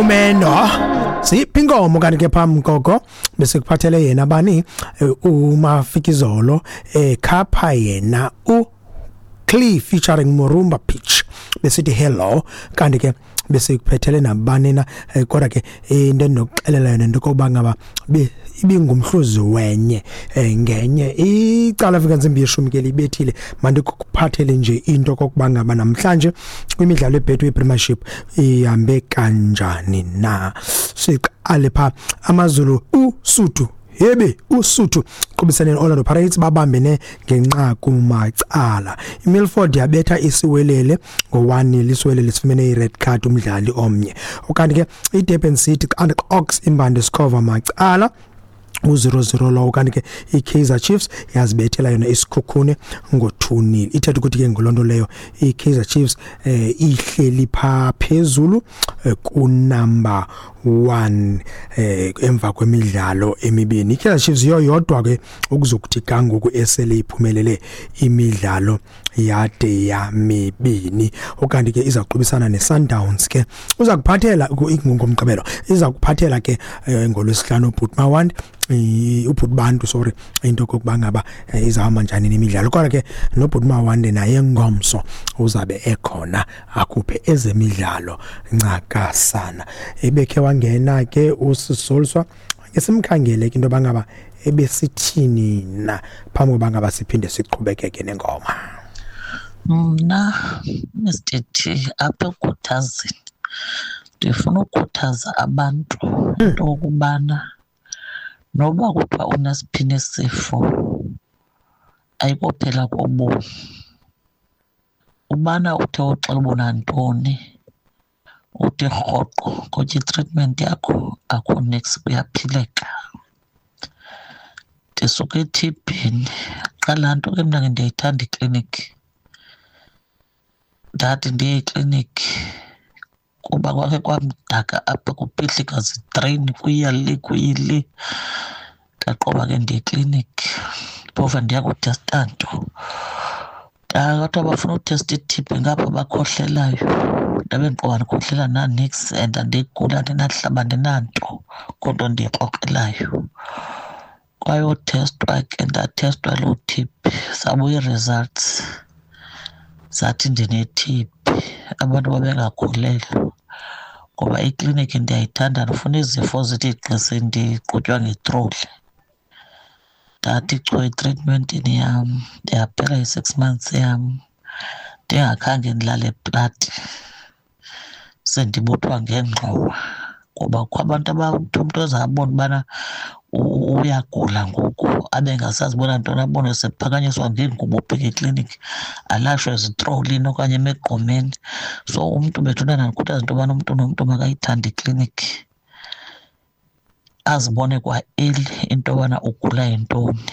Umendo siphi inkomo kanti ke phambi koko bese kuphathele yena bani uMafikizolo ekhapha yena u Clee featuring Murumba Pitch besithi hello. Kanti ke bese kuphethele nabani na, kodwa ke into endinokuxelela yona into yokokuba ngaba ibingumhluzi wenye ngenye icala afika ntsimbi yeshumi ke libethile. Mandikuphathele nje into okokuba ngaba namhlanje kwimidlalo eBetway Premiership ihambe kanjani na. Siqale pha AmaZulu, Usuthu, hebe Usuthu qubisane neOrlando Pirates, babambene ngenqaku macala. IMilford yabetha iSiwelele ngo-1-0, iSiwelele sifumene i-red card umdlali omnye. Ukanti ke iDurban City and Ox imbande Skhova macala, u-0-0 lowo. Kanti ke i-Kaizer Chiefs yazibethela yona iSikhukhune ngo-2-0. Ithetha ukuthi ke ngoloo nto leyo i-Kaizer Chiefs ihleli phaa phezulu kunumber 1 emva kwemidlalo emibini. I-Kaizer Chiefs yiyo yodwa ke ukuzokuthi gangoku esele iphumelele imidlalo yade yamibini. Ukanti ke iza kuqubisana ne-Sundowns ke, uza kuphathela ngoMgqibelo, iza kuphathela ke ngoLwesihlanu ubhuti Mawandi, ubhuti Bantu, sorry, into kokuba ngaba izawuhamba njani nemidlalo. Kodwa ke nobhuti Mawande naye ngomso uzabe ekhona akhuphe ezemidlalo ncakasana. Ebekhe wangena ke uSisoliswa, ke simkhangele ke into yoba ngaba ebesithini na phambi koba ngaba siphinde siqhubekeke nengoma. Mna, Mr T, apha ekukhuthazeni ndifuna ukukhuthaza abantu into yokubana noba kuthiwa unesiphini isifo ayikophela kobomi. Ubana uthe uxela uba unantoni, uthi rhoqo ngotya itreatment yakho, akho niks, kuyaphileka. Ndisuka ethibhini, qha laa nto ke mna ke ndiyayithanda ikliniki. Ndathi ndiye ekliniki kuba kwakhe kwamdaka apha, kuphihlika zitreyini, kuya le kuyi le. Ndaqoba ke ndiye ekliniki, phofu andiya kuthesta nto. Kwathiwa bafuna uthesta i-TB ngapha bakhohlelayo. Ndabe ndiqoba ndikhohlela naniks and andiguli, andinahlaba, andinanto, kodwa ndiyikrokrelayo. Kwayothestwa ke, ndathestwa loo TB, zabuya ii-results zathi ndine-TB. Abantu babengakholelwa ngoba ikliniki ndiyayithanda, ndifuna izifo zithi gqi sendiqhutywa ngetroli. Ndathi chu etreatmentini yam, yaphela i-6 months yam ndingakhange ndilale plati, sendibuthwa ngengxowa. Ngoba kukho abantu abathi umntu azabona ubana uyagula ngoku abe engasazi ubona ntoni, abone sephakanyiswa ngeengubo ubheka ekliniki, alashwe ezitrolini okanye emigqomeni. So umntu bethuna ndikhuthaza into yobana umntu nomntu makayithande ikliniki, azibone kwa-early into yobana ugula yintoni.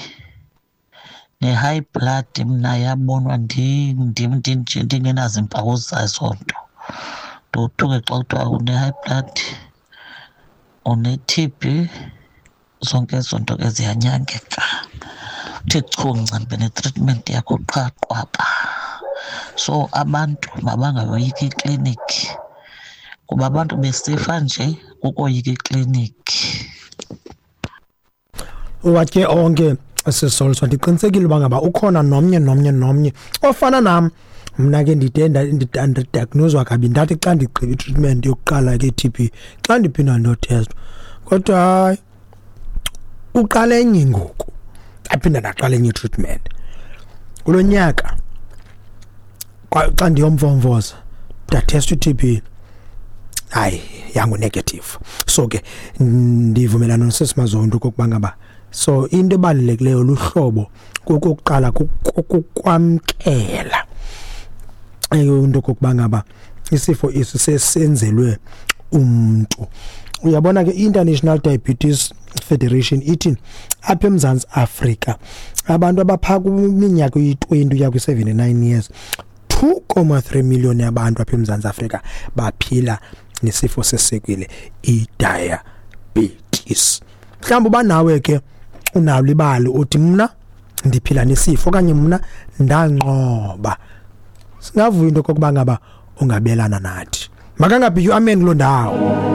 Ne-high blood mna yabonwa ndim ndinje ndingenazimpawu zazo nto. Ndothuke xa kuthiwa une-high blood, une-TB, zonke ezo nto ke ziyanyangeka. Uthi chu ncambe netreatment yakho qha qwaba. So abantu mabangayoyiki ikliniki kuba abantu besifa nje kukoyika ikliniki. Uwatye onke Sisoliswa, ndiqinisekile uba ngaba ukhona nomnye nomnye nomnye ofana nam. Mna ke ndide ndadiagnoswa kabi, ndathi xa ndigqiba itreatment yokuqala ke i-TB, xa ndiphinda ndiyotestwa, kodwa hayi, uqala enye ngoku, ndaphinda ndaqala enye itreatment kulo nyaka. Xa ndiyomvomvoza ndathesta i-TB, hayi, yangu-negative. So ke ndivumelana noSisi Mazondo okokuba ngaba so into ebalulekileyo luhlobo kokuqala kukwamkela into okokuba ngaba isifo esi sesenzelwe umntu. Uyabona ke, i-International Diabetes Federation ithi apha eMzantsi Afrika abantu abaphaa kwiminyaka eyi-20 uya kwi-79 years, 2.3 million yabantu apha eMzantsi Afrika baphila nesifo seswekile, i-diabetes. Mhlawumbi uba nawe ke unalo ibali, uthi mna ndiphila nesifo okanye mna ndanqoba, singavuya into okokuba ngaba ungabelana nathi. Makangabhityi amen kuloo ndawo.